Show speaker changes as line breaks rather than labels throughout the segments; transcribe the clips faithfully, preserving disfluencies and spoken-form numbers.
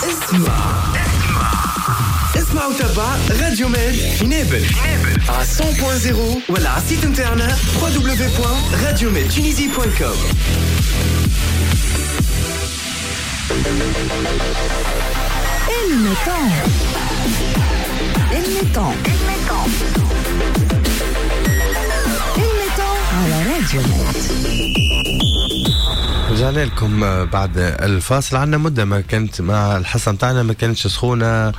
اسمع اسمع وتابع راديو ماد في نابل على مية فاصلة صفر ولا على ال site نتاعنا دبليو دبليو دبليو دوت راديو ماد تونيزي دوت كوم.
الميتون الميتون الميتون على راديو ماد.
رجعنا لكم بعد الفاصل. عندنا مدة ما كانت مع الحصة متاعنا ما كانتش سخونة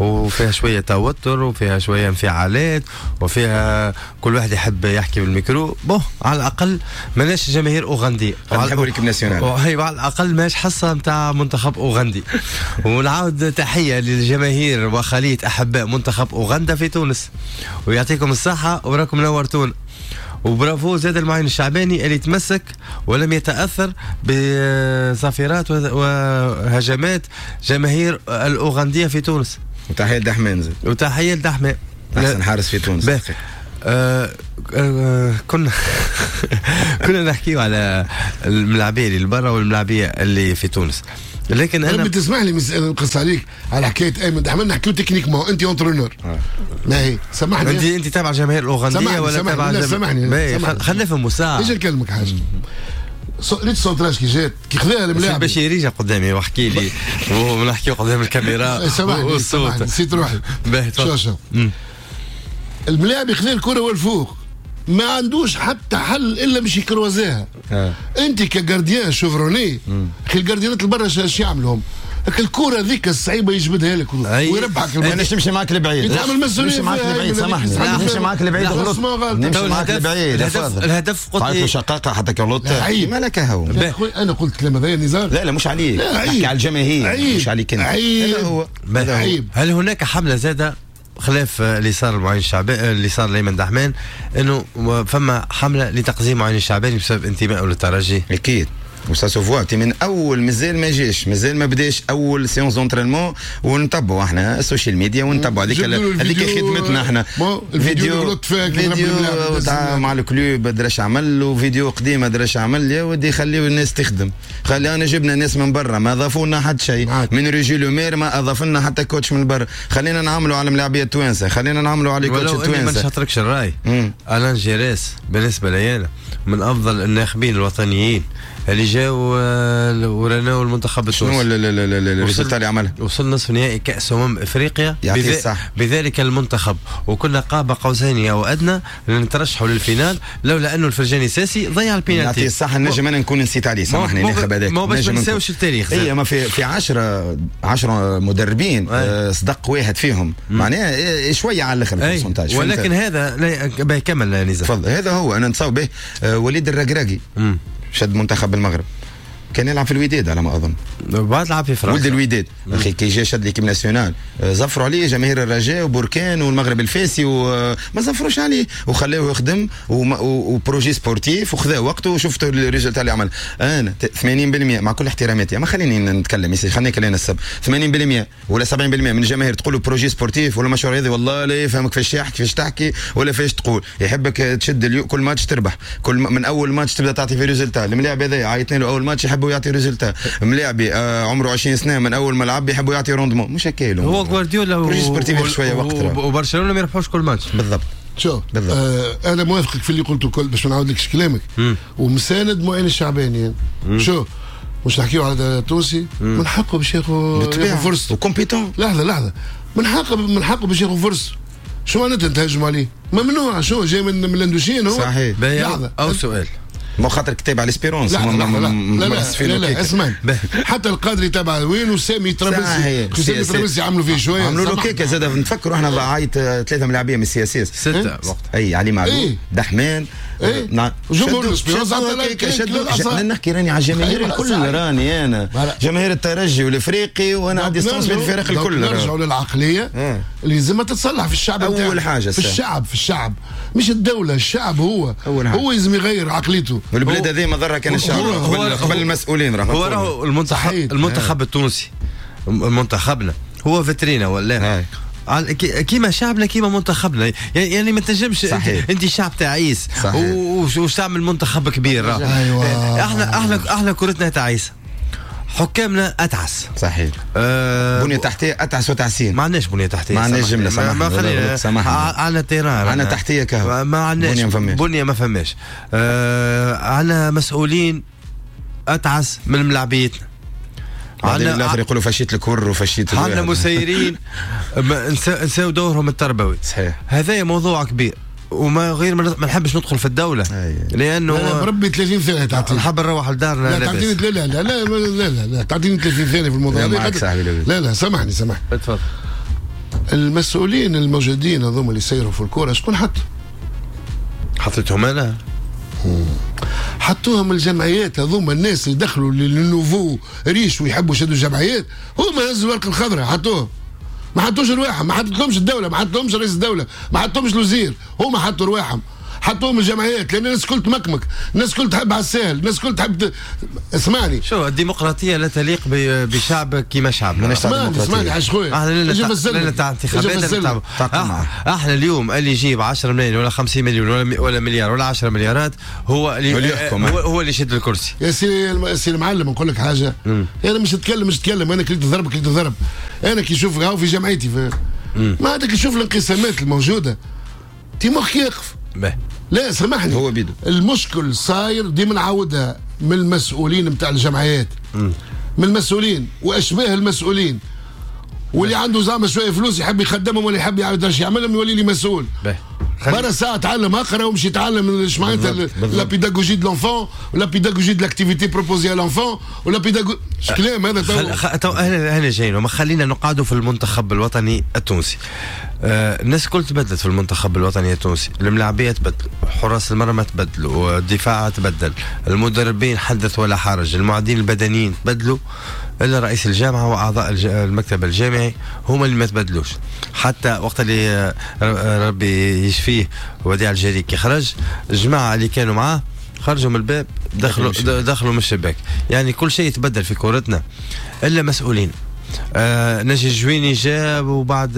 وفيها شوية توتر وفيها شوية انفعالات وفيها كل واحد يحب يحكي بال micro. bon على الأقل ماناش جماهير أوغندية،
نحبوا l'équipe nationale،
وهي على الأقل ماش حصة متاع منتخب أوغندي. ونعاود تحية للجماهير وخلية أحباء منتخب أوغندا في تونس، ويعطيكم الصحة وراكم نورتونا. وبرافو زاد المعين الشعباني اللي تمسك ولم يتأثر بصافرات وهجمات جماهير الأوغندية في تونس.
وتحية لدحمان زاد،
وتحية لدحمان
أحسن حارس في تونس.
آه آه كنا كنا نحكيو على الملاعبية اللي برا والملاعبية اللي في تونس، لكن انا
بتسمح لي نقص عليك على حكاية ايمن دحمان. نحكيو techniquement، انت entraîneur، ما هي سامحني،
انت انت تابع جماهير الاوغنديه ولا تابع؟
لا سامحني،
خلينا نفهموا ساعة.
ايش نكلمك حاجة؟ ريت centrage كي جات كي خذاها الملاعب
باش يريجا قدامي واحكي لي ونحكيو قدام الكاميرا والصوت.
نسيت روحي. شو شو الملاعب يخذا الكره والفوق ما عندوش حتى حل الا باش يكروزيها. آه. انت ك gardien chevronné، اخي الجارديانات البرا اش يعملهم؟ الكره ذيك الصعيبه يجبدها لك ويربحك.
انا نمشي معاك لبعيد، نمشي معاك لبعيد، سامحني نمشي معاك لبعيد، غلط نمشي معاك لبعيد.
الهدف قلت
لي شقاقه حتى كغلط مالك هو.
انا قلت كلام هذا نزار.
لا لا مش عليك، نحكي على الجماهير مش عليك انت.
هذا
هو.
هل هناك حمله زاده خلاف اللي صار معين الشعباني اللي صار لأيمن دحمان، انه فما حمله لتقزيم معين الشعباني بسبب انتمائه للترجي؟
اكيد، و ça se voit من اول مازال ما جاش، مازال ما بداش اول séance d'entraînement، ونتبعوا احنا ال social media ونتبعوا هذيك هذيك خدمتنا احنا.
الفيديو
فيديو تاع مع ال club دراش عمل، وفيديو قديم دراش عمل. يا ودي خليو الناس تخدم، خلي انا جبنا ناس من برا ما اضافوا لنا حتى شيء، من ريجي لومير ما اضاف لنا حتى coach من برا. خلينا نعملوا على الملاعبيه التوانسة، خلينا نعملوا على coach التوانسة.
ما نشاطركش الراي. الان جيريس بالنسبة لي انا من افضل الناخبين الوطنيين اللي جاوا ورناو المنتخب التونسي.
شنو ال résultat اللي عملها؟
وصل نصف نهائي كأس أمم إفريقيا بذلك المنتخب، وكنا قاب قوسين أو أدنى لنترشحوا لل finale لولا أنه الفرجاني ساسي ضيع البينالتي.
يعطيه الصح، النجم أنا نكون نسيت عليه، سامحني ناخذ هذاك.
ما باش ما نساوش التاريخ.
اي ما في في عشرة عشرة مدربين آه صدق واحد فيهم، معناها شوية على الاخر ال pourcentage.
ولكن هذا لا كمل نزار.
تفضل. هذا هو انا نتصور به. آه وليد الركراكي شد منتخب المغرب، كان يلعب في الوداد على ما اظن،
بعد لعب في فرنسا،
ولد الوداد. اخي كي جا شد l'équipe nationale زفروا عليه جماهير الرجاء وبركان والمغرب الفاسي وما زفروش عليه وخلوه يخدم و projet sportif وخذا وقته، وشفتوا ال résultat اللي عمل. انا ثمانين بالمئة مع كل احتراماتي، ما خليني نتكلم، خليني كلنا السب ثمانين بالمئة ولا سبعين بالمئة من الجماهير تقولوا projet sportif ولا مشروع رياضي، والله لا يفهمك فاش تحكي كيفاش تحكي ولا فاش تقول. يحبك تشد اليو كل ماتش تربح، كل من اول ماتش تبدا تعطي في résultat. الملاعب هذا عيطنا له اول ماتش يحبوا يعطي résultat. ملاعبي آه عمره عشرين سنة من اول ما لعب يحبوا يعطي rendement، مش هكا
هو غوارديولا
و sportif شوية وقت
وبرشلونة ما يربحوش كل ماتش.
بالضبط.
شوف آه انا موافقك في اللي قلته الكل باش ما نعاودلكش كلامك، ومساند معين الشعباني. شوف مش نحكيو على التونسي، من حقه باش ياخذ فرصة
و compétent.
لحظة لحظة، من حقه من حقه باش ياخذ فرصة. شو معناتها تهاجم عليه؟ ممنوع. شو جاي من من ال Indochine هو؟
صحيح.
لحظة
او سؤال
ما خاطر كتاب على Espérance.
لا لا لا لا, لا, لا اسمع، حتى القادري تبع وين وسامي ترابلسي، سامي ترابلسي عملوا فيه شوية،
عملوا له كيكة زاد. نتفكروا احنا عايت ثلاثة ملاعبيه من ال CSS
ستة وقت،
اي علي معلول دحمان
ايه
نعم
جمهور Espérance.
نحكي راني على الجماهير الكل، راني انا جماهير الترجي والافريقي، وانا عندي distance بين الفرق الكل.
نرجعوا للعقليه اللي لازم تتصلح في الشعب.
اول حاجة
في الشعب، في الشعب مش الدولة، الشعب هو هو لازم يغير عقليته.
والبلاد هذه ما ضرها كان الشعب قبل قبل المسؤولين.
راهو هو راهو المنتخب المنتخب التونسي منتخبنا هو فيترينا ولا كيما شعبنا كيما منتخبنا، يعني ما تنجمش انت شعب تعيس وش تعمل منتخب كبير.
أيوة.
احنا احنا احنا كرتنا تعيسه، حكامنا اتعس.
صحيح. أه بنيه تحتيه اتعس وتعسين.
ما عندناش بنيه تحتيه.
ما عندناش جملة سامحني.
ما خلينا عندنا terrain،
عندنا تحتيه كهو،
ما عندناش بنيه، ما فماش. أه عندنا مسؤولين اتعس من ملاعبيتنا.
عندنا الاخر يقولوا فشيت الكر وفشيت،
عندنا مسيرين نساو دورهم التربوي.
صحيح.
هذا موضوع كبير وما غير ما نحبش ندخل في الدولة. أيه. لانه
لا بربي ثلاثين ثانية تعطيني،
نحب نروح لدارنا.
لا تعطيني، لا لا لا لا لا لا تعطيني ثلاثين ثانية في الموضوع
هذا.
لا لا سامحني سامحني.
اتفضل.
المسؤولين الموجودين هذوما اللي يسيروا في الكورة شكون حط؟
حطيتهم انا.
حطوهم الجمعيات هذوما، الناس اللي دخلوا لل nouveaux riches ويحبوا يشدوا الجمعيات هما هزوا الورقة الخضراء حطوهم. ما حطوش رواحهم، ما حطتلهمش الدولة، ما حطتلهمش رئيس الدولة، ما حطتهمش الوزير، هما حطوا رواحهم، حطوهم الجمعيات، لان الناس الكل تمكمك، الناس الكل تحب على الساهل، الناس الكل تحب ت... اسمعني.
شو الديمقراطية لا تليق بشعب كيما شعبنا.
اسمعني اسمعني عايش خويا،
احنا تاع انتخابات. احنا اليوم اللي يجيب عشرة ملايين ولا خمسين مليون ولا ولا مليار ولا عشرة مليارات هو اللي هو, هو اللي يشد الكرسي.
يا سي سي المعلم نقول لك حاجة، انا مش نتكلم مش نتكلم، انا كليت الضرب كليت الضرب. انا كي نشوف هاو في جمعيتي في... ما عندك تشوف الانقسامات الموجودة تي مخك يقف. لا سامحني،
هو بيدو
المشكل صاير ديما نعاودها من المسؤولين نتاع الجمعيات، مم. من المسؤولين واشباه المسؤولين، واللي عنده زعما شوية فلوس يحب يخدمهم ولا يحب يعرف يعملهم يولي لي مسؤول. برا ساعة تعلم اقرا ومشي يتعلم اش معناتها la pédagogie de l'enfant ولا pédagogie de l'activité proposée à l'enfant ولا pédago اش كلام هذا.
تو تو اهلا اهلا جايين وما خلينا نقعدوا في المنتخب الوطني التونسي. آه الناس الكل تبدلت في المنتخب الوطني التونسي، الملاعبيه تبدلوا، حراس المرمى تبدلوا، الدفاع تبدل، المدربين حدث ولا حرج، المعدين البدنيين تبدلوا، الا رئيس الجامعة واعضاء المكتب الجامعي هما اللي ما تبدلوش. حتى وقت اللي ربي يشفيه وديع الجري كي خرج، الجماعة اللي كانوا معاه خرجوا من الباب، دخلوا دخلوا من الشباك. يعني كل شيء يتبدل في كورتنا الا مسؤولين. آه نجي الجويني جاب وبعد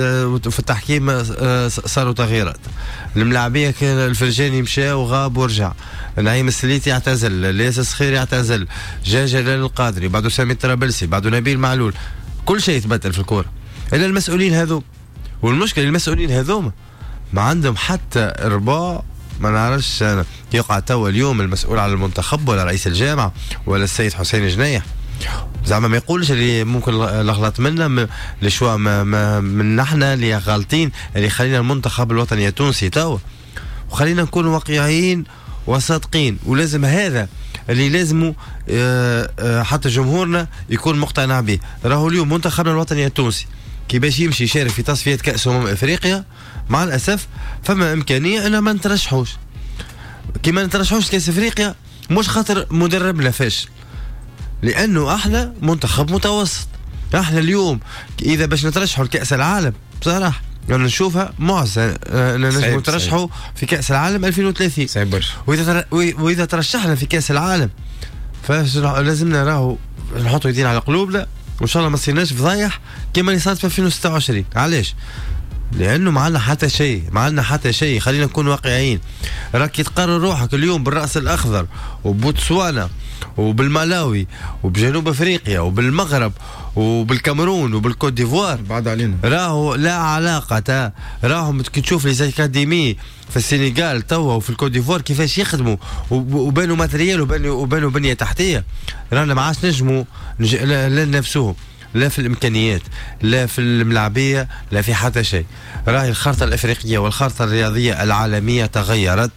في التحكيم آه صاروا تغييرات. الملاعبيه كان الفرجاني مشى وغاب ورجع، نعيم السليتي اعتزل، الياس الصخيري اعتزل، جا جلال القادري، بعده سامي الطرابلسي، بعده نبيل معلول. كل شيء يتبدل في الكورة الا المسؤولين هذو. والمشكلة المسؤولين هذوما ما عندهم حتى ربع. ما نعرفش انا يقع توا اليوم المسؤول على المنتخب ولا رئيس الجامعة ولا السيد حسين جنيح زعما ما يقولش اللي ممكن الغلط منا، les choix ما من نحنا اللي غالطين اللي خلينا المنتخب الوطني التونسي توا. وخلينا نكون واقعيين وصادقين، ولازم هذا اللي لازمه حتى جمهورنا يكون مقتنع به. راهو اليوم منتخبنا الوطني التونسي كي باش يمشي يشارك في تصفية كأس أمم أفريقيا مع الأسف فما إمكانية أن ما نترشحوش. كي ما نترشحوش كأس أفريقيا مش خاطر مدربنا فاشل، لأنه احنا منتخب متوسط. احنا اليوم إذا باش نترشحوا لكأس العالم بصراحة يعني نشوفها معزة نجم نترشحوا في كأس العالم ألفين وثلاثين.
صعيب برشا.
وإذا وإذا ترشحنا في كأس العالم فلازمنا راهو نحطوا يدينا على قلوبنا وإن شاء الله ما صيرناش فضايح كما اللي صارت في ألفين وستة وعشرين. علاش؟ لأنه ما عندنا حتى شيء، ما عندنا حتى شيء. خلينا نكون واقعيين. راك تقرر روحك اليوم بالرأس الأخضر وبوتسوانا وبالمالاوي وبجنوب افريقيا وبالمغرب وبالكاميرون وبالكوت ديفوار
بعد علينا،
راهو لا علاقة. راهم كي تشوف les académies في السنغال توا وفي الكوت ديفوار كيفاش يخدموا وبانوا matériel وبانوا وبانوا بنية تحتية، رانا ما عادش نجموا لا نفسهم لا في الامكانيات لا في الملاعبيه لا في حتى شيء. راهي الخارطة الافريقية والخارطه الرياضية العالمية تغيرت،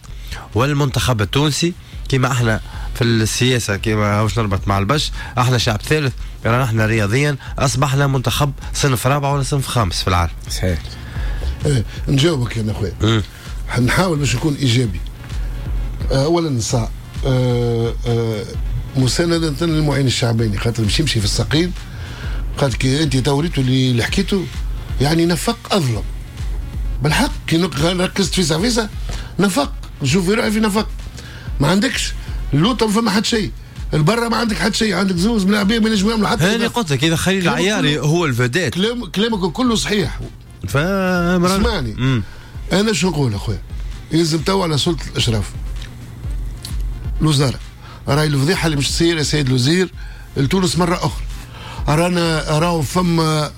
والمنتخب التونسي كما احنا في السياسة كما هاوش نربط مع البش، احنا شعب ثالث، رانا احنا رياضيا اصبحنا منتخب صنف رابع ولا صنف خامس في العالم.
صحيح.
ايه نجاوبك يا اخويا، نحاول باش نكون ايجابي. اولا صا أه أه مساندة للمعين الشعباني خاطر باش يمشي في الساقين، خاطر كي انت توريتو اللي حكيته يعني نفق اظلم بالحق. كي ركزت في سافيسا نفق، نشوف في روحي في نفق. ما عندكش اللوطه ما فما حد شيء، البرة ما عندك حد شيء، عندك زوز ملاعبين ما ينجموا يعملوا حتى.
هاني قلت لك اذا خليل العياري هو الفدات.
كلام كلامك كله صحيح. اسمعني انا شو نقول اخويا، يلزم تو على سلطة الاشراف الوزارة راهي الفضيحة اللي مش تصير يا سيد الوزير لتونس مرة اخرى. رانا راهو فما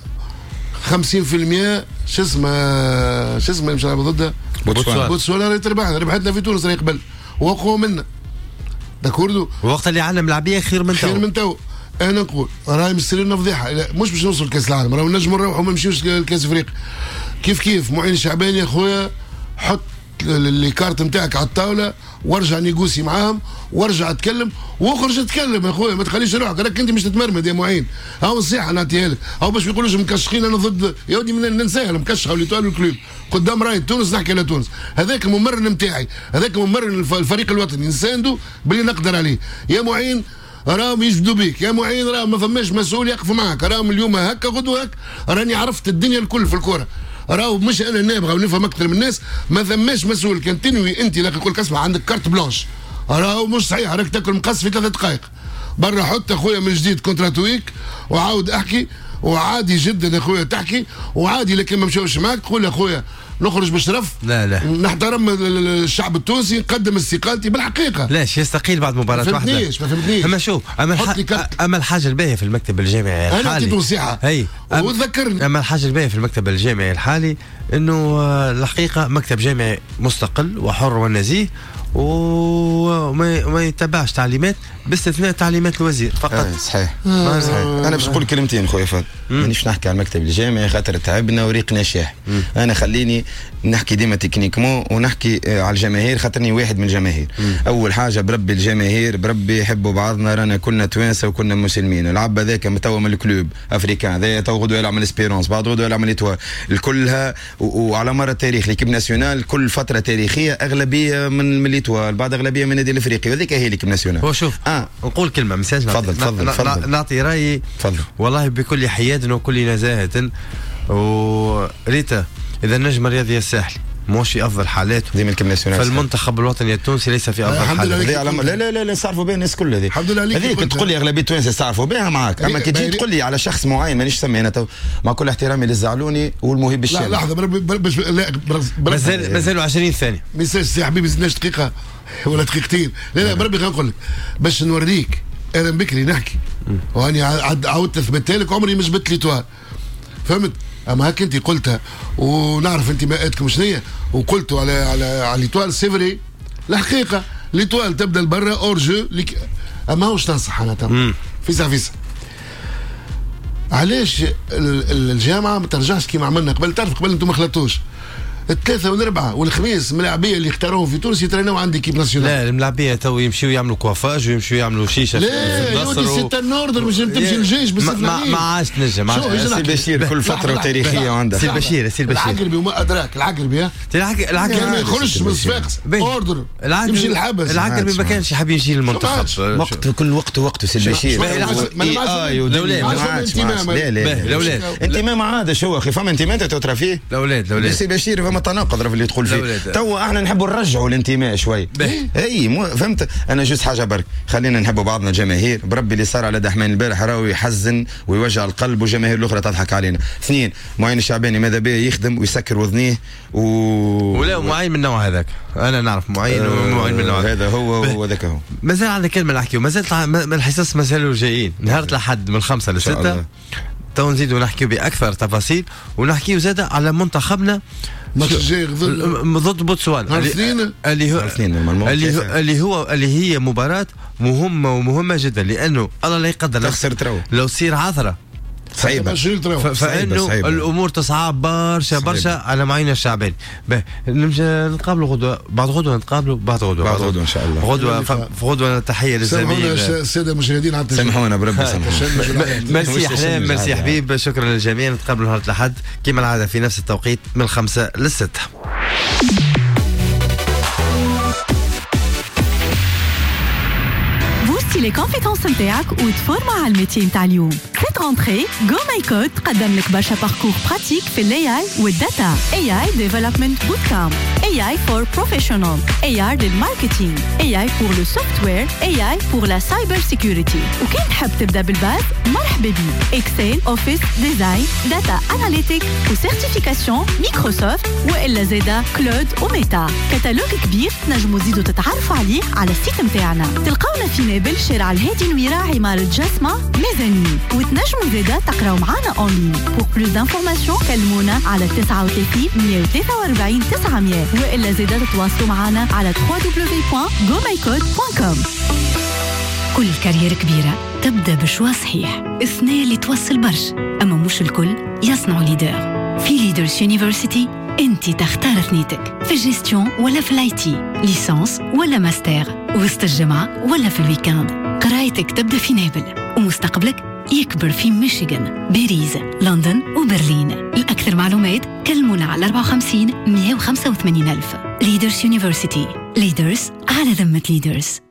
خمسين بالمية شو اسمه شو اسمه مش نلعبوا ضدها
بوتسوانا.
بوتسوانا راهي تربحنا، ربحتنا في تونس راهي قبل وقوة منا d'accord.
وقت اللي عندنا ملاعبيه خير من تو،
خير من تو. انا نقول راهي مستنينا لنا فضيحة، مش باش نوصل لكاس العالم، راهو نجموا نروحوا ما نمشيوش لكاس افريقيا. كيف كيف معين الشعباني يا خويا، حط les cartes نتاعك على الطاولة وارجع négocier معاهم وارجع اتكلم واخرج اتكلم يا خويا، ما تخليش روحك راك انت مش تتمرمد يا معين. هاو نصيحة نعطيها لك، هاو باش ما يقولوش مكشخين انا ضد يا ودي ننساها المكشخه و l'Étoile وال Club قدام راي تونس، نحكي على تونس. هذاك الممرن نتاعي، هذاك ممرن الفريق الوطني، نساندو باللي نقدر عليه. يا معين راهم يجبدوا بيك، يا معين راهم ما فماش مسؤول يقف معاك، راهم اليوم هكا غدوه هكا، راني عرفت الدنيا الكل في الكره، راهو مش انا نابغه ونفهم اكثر من الناس، ما ثماش مسؤول كان تنوي انت لك يقول لك اسمع عندك carte blanche، راهو مش صحيح، راك تاكل مقص في ثلاث دقائق. برا حط اخويا من جديد contrat وعاود احكي، وعادي جدا اخويا تحكي وعادي، لكن ما مشاوش معاك تقول اخويا نخرج بشرف،
لا لا
نحترم الشعب التونسي، نقدم استقالتي بالحقيقة.
لاش يستقيل بعد مباراة واحدة؟
ما فهمتنيش ما فهمتنيش.
اما شوف، اما الح... اما الحاجة الباهيه في المكتب الجامعي الحالي،
انا عطيت نصيحة
اي
وتذكرني.
اما الحاجة الباهيه في المكتب الجامعي الحالي انه الحقيقة مكتب جامعي مستقل وحر ونزيه وما ما يتبعش تعليمات باستثناء تعليمات الوزير فقط.
آه صحيح. آه صحيح. انا باش نقول كلمتين خويا فهد، مانيش نحكي على المكتب الجامعي خاطر تعبنا وريقنا شاح. انا خليني نحكي ديما techniquement ونحكي على الجماهير خاطرني واحد من الجماهير. مم. اول حاجة بربي الجماهير بربي يحبوا بعضنا، رانا كلنا توانسة وكلنا مسلمين. العب هذاك توا من ال Club Africain، هذا تو غدوه يلعب من l'Espérance، بعد غدوه يلعب من l'Étoile، الكلها وعلى مر التاريخ l'équipe nationale كل فترة تاريخية اغلبية من من l'Étoile، بعد اغلبية من النادي الافريقي، وهذيك هي l'équipe nationale.
هو شوف آه. نقول كلمة مساج،
تفضل تفضل تفضل،
نعطي رايي
تفضل.
والله بكل حياد وكل نزاهة، وريتا اذا النجم الرياضي الساحلي مش في افضل حالاته
ديما l'équipe nationale،
فالمنتخب الوطني التونسي ليس في افضل حالاته.
لا لا لا لا نستعرفوا بها الناس كل هذه،
الحمد لله عليك.
هذيك تقول لي اغلبية التوانسة يستعرفوا بها معاك، اما كي تجي تقول لي على شخص معين مانيش سمي انا تو، مع كل احترامي للزعلوني والمهيب الشامي.
لا لحظة باش لا
مازال مازالوا عشرين ثانية،
ميساج يا حبيبي، زدناش دقيقة ولا دقيقتين. لا لا بربي خلينا نقول لك باش نوريك انا بكري نحكي واني عاودت اثبتها لك، عمري ما جبت l'Étoile، فهمت؟ اما هاك انت قلتها ونعرف انتماءاتكم شنية، وقلتوا على على على l'Étoile c'est vrai. الحقيقة l'Étoile تبدا لبرا hors-jeu لك... اما واش تنصح انا تو فيسا فيسا علاش الجامعة ما ترجعش كيما عملنا قبل؟ تعرف قبل انتم ما خلطوش الثلاثة والاربعة والخميس ملاعبيه اللي اختاروهم في تونس يتريناو عند équipe nationale.
لا الملاعبيه تو يمشيو يعملوا coiffage ويمشيو يعملوا شيشة.
لا يا ودي c'est un ordre مش تمشي للجيش
بس ما, ما عادش تنجم.
سي بشير كل فترة وتاريخية عندها.
سي بشير سي بشير
العقربي وما ادراك العقربي
العقربي
ما يخرجش من صفاقس ordre يمشي للحبس.
العقربي ما كانش حاب يمشي للمنتخب
وقت كل وقت وقته. سي بشير لا لا انتماء ما عادش هو اخي، فما انتماء انت تترى فيه
الاولاد الاولاد
سي بشير فما تناقض في اللي تقول فيه. تو احنا نحبوا نرجعوا الانتماء شوي. اي مو فهمت انا juste حاجة برك، خلينا نحبوا بعضنا الجماهير بربي. اللي صار على دحمان البارح راهو يحزن ويوجع القلب والجماهير الاخرى تضحك علينا. اثنين، معين الشعباني ماذا به يخدم ويسكر وذنيه و...
ولا معين من النوع هذاك، انا نعرف معين آه ومعين من النوع
هذا هو وذاك هو.
مازال عندنا كلمة نحكيو، مازال الحصص مازالوا جايين نهار الاحد من خمسة لستة تو نزيدوا نحكيو باكثر تفاصيل ونحكيو زاده على منتخبنا
الماتش الجاي
ضد بوتسوانا اللي, اللي هو اللي هو اللي هو اللي هي مباراة مهمة ومهمة جدا، لانه الله لا يقدر
تخسر ترو
لو تصير عثره
صعيبة
فانه الامور تصعب برشا برشا على معين الشعباني. نمشي نتقابلوا غدوه، بعد غدوه نتقابلوا بعد غدوه
بعد غدوه ان شاء الله.
غدوه غدوه تحية للزميل
السادة المشاهدين على
سامحونا بربي سامحونا.
ميرسي احلام، ميرسي حبيب، شكرا للجميع. نتقابلوا نهار الاحد كما العادة في نفس التوقيت من الخمسة للستة.
les compétences نتاعك وتفورما على ال métier نتاع اليوم. Cette rentrée GoMyCode تقدم لك برشا parcours pratiques في ال AI وال data، إيه آي Development Bootcamp، إيه A I for Professional، A I لل marketing، A I pour le software، A I pour la cyber security. وكان تحب تبدا بال base، مرحبا بيك: Excel، Office، design، data analytic و certification Microsoft والا زادا cloud و Meta. catalogue كبير تنجموا تزيدوا تتعرفوا عليه على ال site نتاعنا. تلقاونا في نابل، شارع الهادي نويرة، عمارة جسمة mezzanine، وتنجموا زادا تقراو معانا en ligne. pour plus d'informations كلمونا على تسعة وثلاثين مية وثلاثة وأربعين تسعمية، والا زادا تتواصلوا معنا على double-v double-v point gomycode point com.
كل carrière كبيرة تبدأ ب choix صحيح، الثنية اللي توصل برشا، أما مش الكل يصنعوا leader. في Leaders University انت تختار ثنيتك، في ال gestion ولا في ال IT، licence ولا ماستر، وسط الجمعة ولا في ال week-end. قرايتك تبدأ في نابل ومستقبلك يكبر في ميشيغان، باريس، لندن وبرلين. لأكثر معلومات كلمونا على أربعة وخمسين مية وخمسة وثمانين ألف. Leaders University، leaders على ذمة Leaders.